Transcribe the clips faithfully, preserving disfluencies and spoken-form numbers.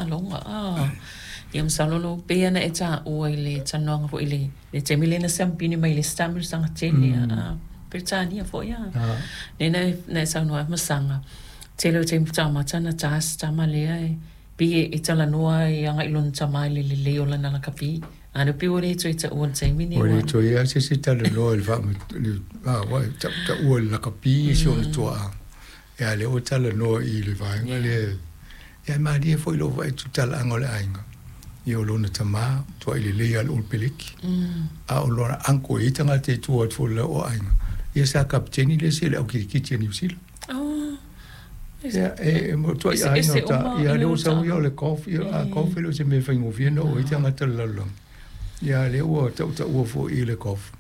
Taaloga a. Ia masalo lo pei ona e taua i le talanoaga foi i le le taimi lea na siamupini mai le isi taamilosaga tele a Peretania foi a. Lea na na e saunoa ai masaga tele o taimi faatoa amata ona ta si tama lea e pei e talanoa e agai i lona tama i le lelei o lana lakapi. A lea pei ua le toe taua i le taimi nei. Ua le toe lava se isi talanoa i le faa taua i le lakapi si ona tuaa. Ia lea ua talanoa i le vaega lea. Ia e malie foi lou vaai atu i talaaga o le aiga, ia o lona tama, tuai lelei lava i le Olo Peleki. A o lona uncle e i ai tagata i tua atu foi o le lau aiga, ia sa kapeteni le isi i le au kirikiti a Niu Sila. Ia e tuai aiga o ta, ia lea ua sau ia o le golf, ia a golf e le o se mea faigofie ona oo i ai tagata o le lalolagi. Ia lea ua tautaua foi i le golf.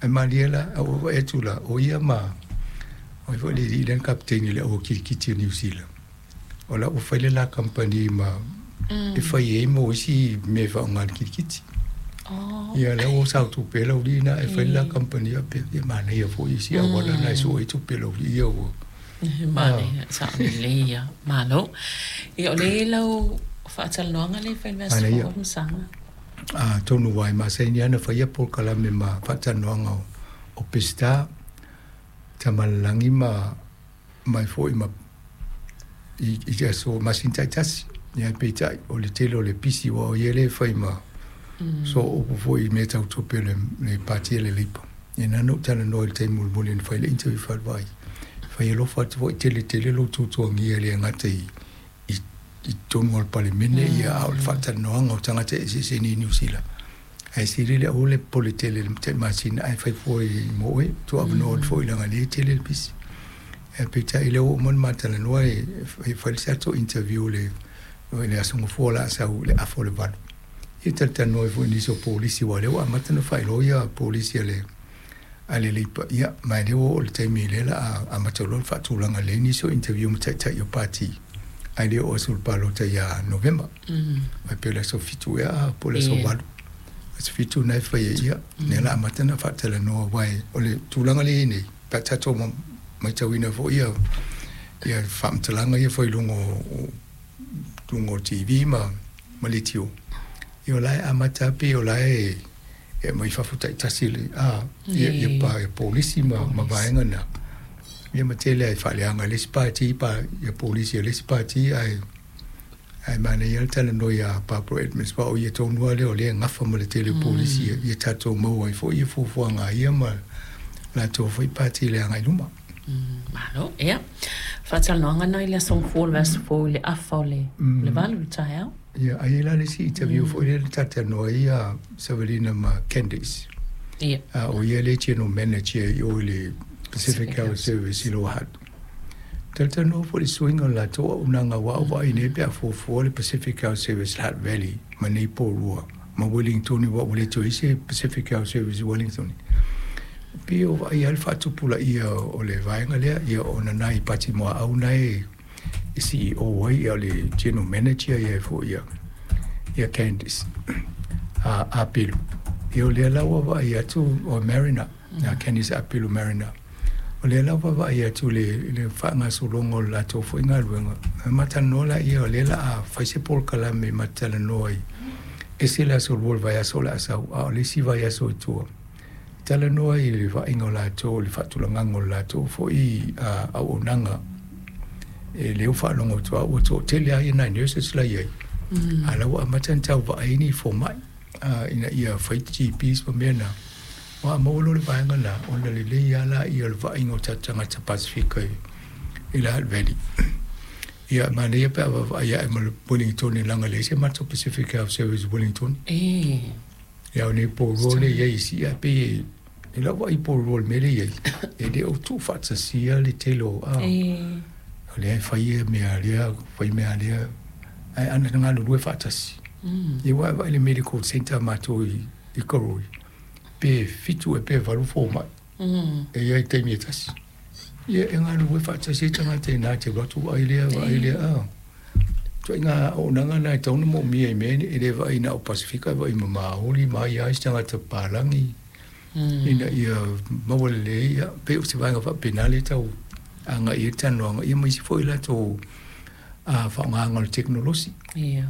Ae malie la, a ua vaai atu la, o ia ma o ai foi le alii lea na kapeteni i le au kirikiti a Niu Sila. O la ua fai le la kamupani ma e fai ai mo isi mea e faaaoga i le kirikiti. Ia lea ua sao tupe lau alii na e fai le la kamupani faapea, ia manaia foi isi auala na e sue ai tupe a lau alii ia ua. Manaia, sao lelei ia. Malo. Ia o lea e lau faatalanoaga lea e fai i le vaiaso fou o masaga. Atonu ua e masani lava ona faia polokalame ma faatalanoaga o Peseta, Tamalelagi ma mai foi ma i, i aso masina taitasi. Ia peitai o le tele o le pisi aua o ia lea e fai ma mm. so upu foi i mea tau tupe o le, le pati a le Leipa. Ia na ona ou talanoa i le taimi mulimuli na fai le interview faalevai. Fai alofa atu foi tele tele lou tuatuagia e le gata i i i totonu o le Palemene ia a o le faatalanoaga o tagata eseese nei i Niu Sila. Ae sili le aua le popole tele i le tai masina ae fai fua i mo oe, tuuavanoa atu foi leaga o lea e tele le pisi. Ae peitai lea ua uma ona ma talanoa e fai le tatou interview i le le Aso Gafua o le a sau i le afa o le valu. Ia talatalanoa ai foi i nisi o polisi aua o lea ua amata ona faailoa ia polisi a le a le Leipa, ia ma o lea ua oo i le taimi lea o le a amata loa ona faatulaga lelei nisi o interview ma taitai o pati ae le oo atu i le palota ia Novema. Mai pei o le aso fitu ea po o le aso valu. Aso fitu na e fai ai, ia, lea o le a amata ona faatalanoa aua o le tulaga lea e i ai nei, pe a tatou matauina foi ia ia faamatalaga ia fai i luga o luga o le T V ma ma leitio, ia o la e amata lava pei o la e e aumai fafo taitasi le a ia ia pa polisi ma ma vaega na. Ia ma tele ai faaleaga e le isi pati pa ia polisi a le isi pati ae ae manaia le talanoa ia Barbara Edmonds aua o ia tonu lava lea o lea e gafa ma le tele o polisi ia, ia tatou maua ai foi ia fuafuaga a ia ma latou foi pati i le agai i luma. Malo, ia. Faatalanoaga na i le aso Gafua o le vaiaso fou i le afa o le le valu i le taeao. Ia, ai e la le isi interview foi lea na talatalanoa ai ia Savalina ma Candace. Ia. A o ia le general manager i o i le Pacific Health Service i Lower Hutt. Talatalanoa foi i le suiga o le latou auaunaga aua ua vaai nei pe a fuafua le Pacific Health Service Hutt Valley ma nei Porirua ma Wellington aua ua le toe i ai se Pacific Health Service i Wellington. Pei o vaai lava le faatupulaia o le vaega lea, ia ona nai Pati Muaau na e C E O ai ia o le general manager ia foi ia ia Candice a Apelu. Ia o lea la ua vaai atu o Mariner, ia Candice Apelu Mariner. O lea la ua vaai atu le le faagasologa o le latou foi galuega. E matalanoa laia o lea o le a fai se polokalame e matalanoa ai. Ese le aso lua o le vaiaso o le a sau, a o le isi vaiaso i tua. Talanoa i le vaaiga o latou, le faatulagaga o le latou foi auaunaga. E le ua faalogo atu lava ua toatele lava nai nurses la e i ai. A o la ua amata ona tau vaai ni fomai ina ia fai G Ps ma mea na. Ua maua loa le vaega na, ona lelei lava laia o le vaaiga o tatou tagata Pasefika i le Hutt Valley. Ia, manaia pe a vaavaai ae ma le Wellington leaga e leai se matou Pacific Health Service i Wellington. Ia o nei Porirua lea e i ai isi, ae pei e lau vaai i Porirua i le mea lea e i ai, e le o tuufaatasia le tele o, a, o lea e fai ia mea a lea, fai mea a lea, ae ana galulue faatasi. Ia ua e vaai i le medical centre a matou i, i Karori, pe fitu ea pe valu fomai, e i ai i taimi e tasi. Ia e galulue faatasi ai tagata i ina te alu atu vaai lea, vaai lea, a. Ituaiga auaunaga na e tatau ona moomia i mea e le vaai na o Pasefika, e vaai ma Maori, ma ai lava isi tagata papalagi, ina ia maua lelei, ia, pei o se vaega faapena lea e tau agai i ai le talanoaga, ia ma isi foi latou faaaogaga o le tekonolosi. Ia.